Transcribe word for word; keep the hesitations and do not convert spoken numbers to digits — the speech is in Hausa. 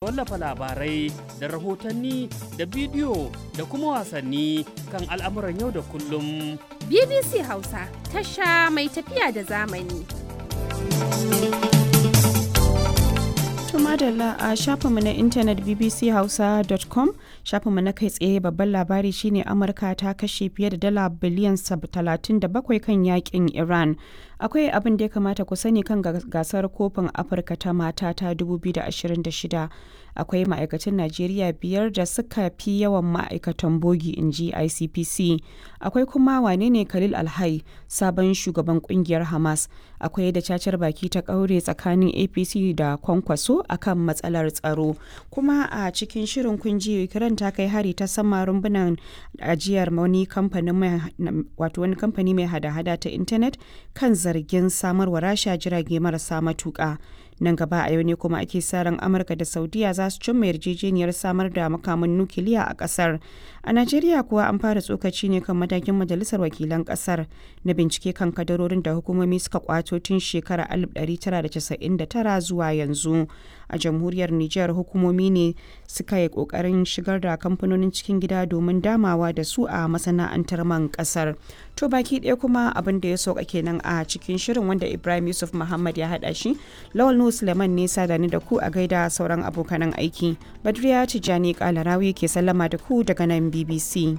Wallafa labarai da rahotanni da bidiyo da kuma wasanni kan al'amuran yau da kullum. B B C Hausa, tasha mai tafiya da zamani. To madalla, a shafinmu na intanet B B C Hausa dot com, shafinmu na kai tsaye, babban labari shine Amurka ta kashe fiye da dala biliyan talatin da bakwai kan yakin Iran. Akwai abin da ya kamata ku sani kan gasar kofin Afirka ta mata ta dubu biyu da ashirin da shida. Akwai ma'aikatan Najeriya biyar da suka fi yawan ma'aikatan bogi, in ji I C P C. Akwai kuma wane ne Khalil Alhai, sabon shugaban kungiyar Hamas. Akwai da cacar baki ta kaure tsakanin A P C da Kwankwaso akan matsalar tsaro. Kuma a cikin shirin kun ji Ukraine ta kai hari ta sama rumbunan ajiyar wani kamfanin mai wato wani kamfani mai hada-hada ta intanet kan zargin samarwa Rasha jirage marasa matuka. Nan gaba a yau ne kuma ake sa ran Amurka da Saudiya za su cimma yarjejeniyar samar da makaman nukiliya a kasar. A Najeriya kuwa, an fara tsokaci ne kan matakin majalisar wakilan kasar na bincike kan kadarorin da hukumomi suka kwato tun shekarar alif ɗari tara da casa'in da tara zuwa yanzu. A jamhuriyar Nijar, hukumomi ne suka yi kokarin shigar da kamfanonin cikin gida domin damawa da su a masana'antar man kasar. To baki ɗaya kuma abin da ya sauka kenan a cikin shirin, wanda Ibrahim Yusuf Muhammad ya haɗa shi. Lawal Nuhu Suleiman ne sada ni da ku. A gaida sauran abokanan aiki. Badriya Tijjani Kalarawi ke sallama da ku daga nan B B C.